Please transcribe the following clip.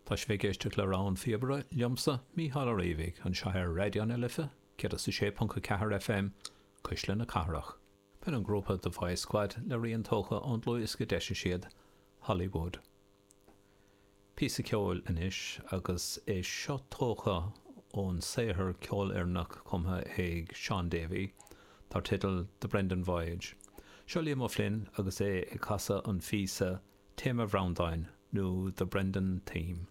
Tá sibh ag éisteacht le Rogha an Phíobaire, liomsa, Mícheál Ó Riabhaigh, anseo ar Raidió na Life, 106.4 FM, Cuisle na Cathrach. B'in an grúpa The Voice Squad le rian tógtha ón dlúthdhiosca a d'eisigh siad, Hollywood. Píosa ceoil anois, agus é seo tógtha ón saothar ceolfhoirneach cumtha ag Shaun Davey, dar teideal The Brendan Voyage. Seo Liam O'Flynn agus é ag casadh an phíosa Téama Bhreandáin nó The Brendan Theme.